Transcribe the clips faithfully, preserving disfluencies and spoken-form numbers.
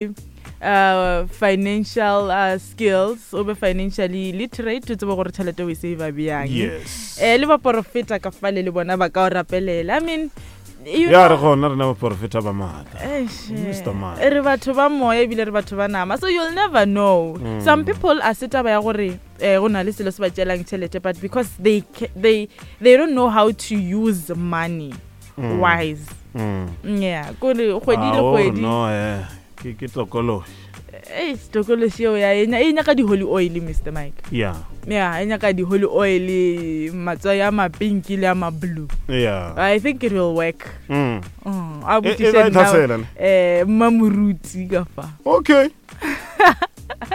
uh, financial uh, skills, o be financially literate, o tsebe gore tšhelete o e save bjang. Yes. Eh, le baporofeta ka fale le bona ba ka o rapelela. I mean, you Ya know, re gona rena baporofeta ba maatla. Eish, Mister Man. eh, re batho ba moya ebile re batho ba nama, so you'll never know. Mm. Some people a se taba ya gore eh, go na le selo se ba tšelang tšhelete, but because they, ca- they, they don't know how to use money Mm. wise. Mm. Yeah, kore kgwedi le Ah, o re kgwedi. No, eh, ke ke tokološi. Eish, tokološi eo ya e nya- e nyaka di-holy oil, Mister Mike. Yeah. Yeah, e nyaka di-holy oil, matswai a mapinki le a ma-blue. Yeah. I think it will work. Mm. Mm, a E- e botšiše ba e nna, tlhasela, ne? eh, mmamoruti ka fa. Okay.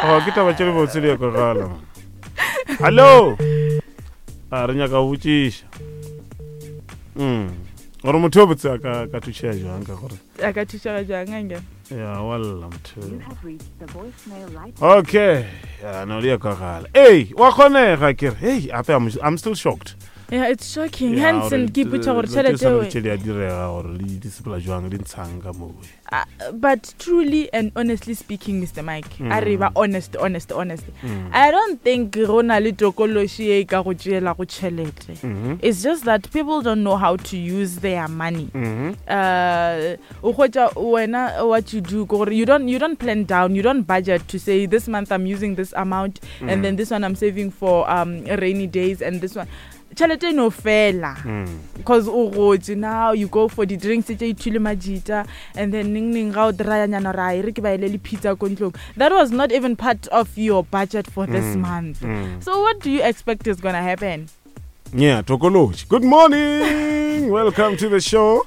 Oh, ke taba tše dibotse di ya kwagala, man. Hallo. A re nyaka go botšiša. Mm. Gore motho yo botse a ka ka thušega jwang ka gore. A ka thušega jwang, anke? Ya walla motho. Okay. Ya no di ya kwagala. Ei, wa kgonega ke re. Hey, ape I'm, I'm still shocked. Yeah, it's shocking. Ya, Hansen, gore ke ipotša gore dilo tše tšhelete tshwana le eo- tše di a direga gore le di sepela jwang, di ntshang ka moo. Uh, but truly and honestly speaking, Mister Mike, Mm. a re ba honest, honest, honest. Mm. I don't think go na le tokološi e ka go tšeela go tšhelete. Mhm. It's just that people don't know how to use their money. Mhm. Uh, o hwetša wena what you do, ke gore you don't, you don't plan down, you don't budget to say this month I'm using this amount and Mm. then this one I'm saving for, um, rainy days and this one. Tšhelete e no fela. Mm. Because o gotse, now you go for the drinks tše ithule majita and then ning ning ga o dry-anyana ra e re ke ba ele le pizza ko ntlong. That was not even part of your budget for this Mm. month. Mm. So what do you expect is gonna happen? Yeah, tokološi. Good morning. Welcome to the show.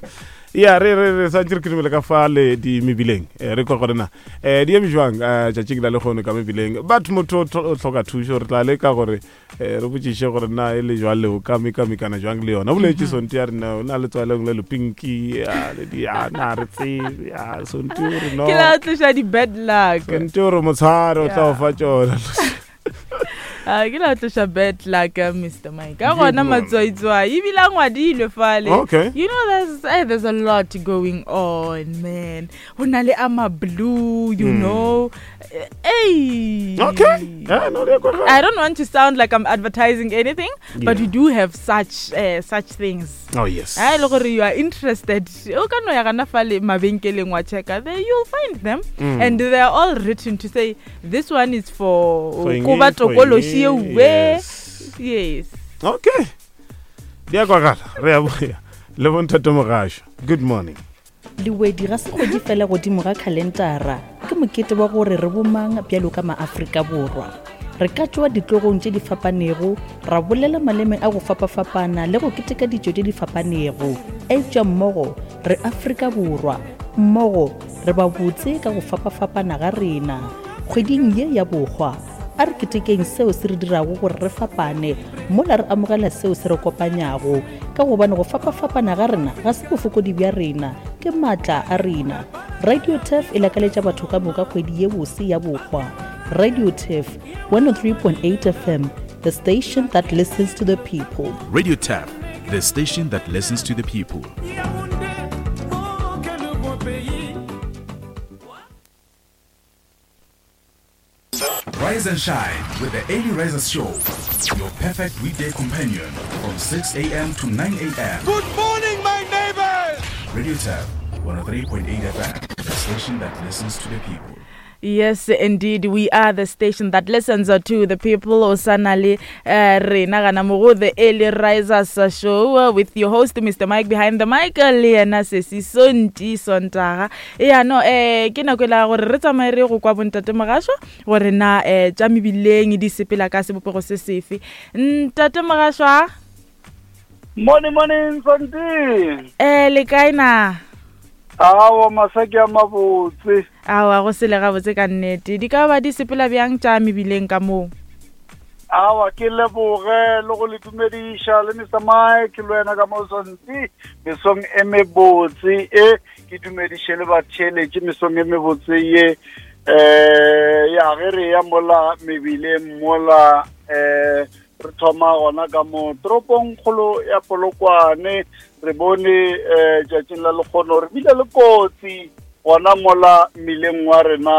Ya re re re santse re kirimele ka fa le di mebileng. Eh, re kwa gore na eh di eme jwang eh, tšatšing la lekgono ka mebileng. But motho o tlo- o hloka thušo, re tla leka gore eh, re botšiše gore na e le jwang le o ka mekamekana jwang le yona. O boletše Mhm. Sonti ya rena o na le tswaleng le lepinki, ya, le di, ya, na re tsebe, ya, Sonti o re no. Ke la tloša di-bad luck. Sonti o re motshware o tla o Yeah. fa tšona. Ah, ke la tloša bad luck, uh, Mister Mike. Ka Good gona one. matswaitswai ebile a ngwadilwe fale. Okay. You know, there's, eh, there's a lot going on, man. Ho na le a ma blue, you Mm. know. Eh, Hey. Okay. Yeah, no, di a kwagala. I don't want to sound like I'm advertising anything, but Yeah. we do have such, uh, such things. Oh, yes. Ha e le gore you are interested, o ka no ya gana fale mabenkeleng wa checka, there you'll find them. Mm. And they are all written to say this one is for For eng, ko ba for tokološi eng, e we. yes. Yes. Okay. Di a kwagala. Re a boya. Le bontate Mogasho. Good morning. Lewedi ga se kgwedi fela godimo ga khalentara, ke mokete wa gore re bomang bjalo ka maAfrika Borwa. Re ka tšwa ditlogong tše di fapanego, ra bolela maleme a go fapafapana le go keteka ditšo tše di fapanego. Eupša mmogo re Afrika Borwa, mmogo re ba botse ka go fapafapana ga rena. Kgweding ye ya bohwa, a re ketekeng seo se re dirago gore re fapane, mola re amogela seo se re kopanyago, ka gobane go fapafapana ga rena ga se bofokodi bja rena, ke maatla a rena. Radio Turf e lakaletša batho ka moka kgwedi ye bose ya bohwa. Radio Turf, one oh three point eight F M, the station that listens to the people. Radio Turf, the station that listens to the people. Rise and shine with the Early Risers Show, your perfect weekday companion from six A M to nine A M. Good morning, my neighbors! Radio Turf, one oh three point eight F M, the station that listens to the people. Yes, indeed, we are the station that listens to the people. Osanali eh, rena gana mo go the Early Risers Show, uh, with your host Mister Mike behind the mic, le yena Sesi Sonti Sontaga. Ya no, eh, ke nako e la gore re tsamaye re go kwa bontate Mogasho gore na, eh, tša mebileng di sepela ka sebopego se sefe. Ntate Mogasho a? Morning, morning, Sonti. Eh, le kae na? Awa, masaki a mabotse. Awa, go sele gabotse ka nnete. Di ka ba di sepela bjang tša mebileng ka moo? Awa, ke leboge le go le dumediša le Mister Mike le wena ka mo Sonti. Mesong e mebotse e, ke dumediše le batheeletši mesong e mebotse ye. Eh, ya ge re ya mola mebileng mola, eh, re thoma gona ka mo toropong kgolo ya Polokwane. Re bone, eh, tšatšing la lekgono re bile le kotsi Gona mola mmileng wa rena.